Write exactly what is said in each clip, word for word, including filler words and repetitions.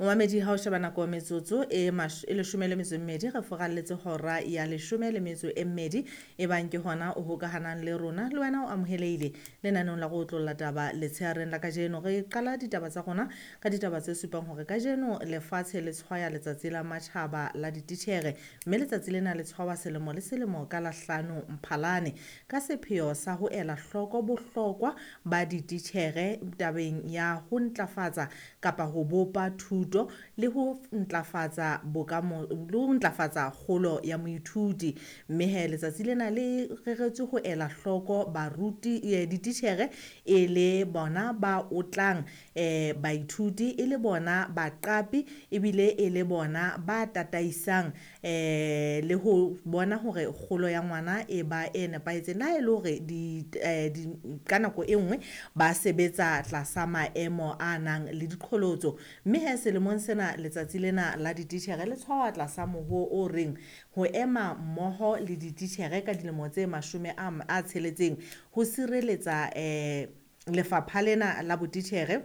Momamedi, ha o sheba nako, metsotso e mash- e leshome le metso e mmedi re furalletse hora ya leshome le metso e mmedi. E bang ke hona o hokahanang le rona, le wena o amohelehile lenaneong la go otlolla taba letsheareng la kajeno. Re qala ditaba tsa rona ka ditaba tse supang hore kajeno lefatshe le tshwaya letsatsi la matjhaba la dititjhere, mme letsatsi lena le tshwawa selemo le selemo ka la hlano Mphalane ka sepheo sa ho ela hloko bohlokwa ba dititjhere tabeng ya ho ntlafatsa kapa ho bopa thuto le ho ntlafatsa bokamo le ho ntlafatsa kgolo ya moithuti. Mme he letsatsi lena le reretswe ho ela hloko baruti, eh, dititjhere e le bona ba otlang eh baithuti, e le bona baqapi, ebile e le bona ba tataisang eh le ho bona hore kgolo ya ngwana e ba e nepahetseng, le ha e le hore di, eh, di ka nako e nngwe ba sebetsa tlasa maemo a nang le diqholotso. Mme he selemong sena letsatsi lena la dititjhere le tshwawa tlasa moho o reng ho ema mmoho le dititjhere ka dilemo tse mashome a a tsheletseng ho sireletsa eh lefapha lena la botitjhere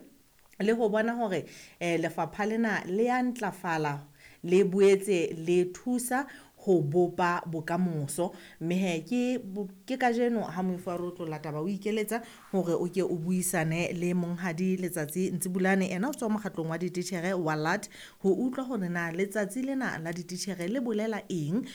le ho bona hore eh lefapha lena le ya ntlafala, le boetse le thusa ho bopa bokamoso. Mme he ke ke kajeno ha moifo wa re otlolla taba o ikeletsa hore o ke o buisane le monghadi Letsatsi Ntsibulane, ena o tswa mokgatlong wa dititjhere wa L A T, ho utlwa hore na letsatsi lena la dititjhere le bolela eng.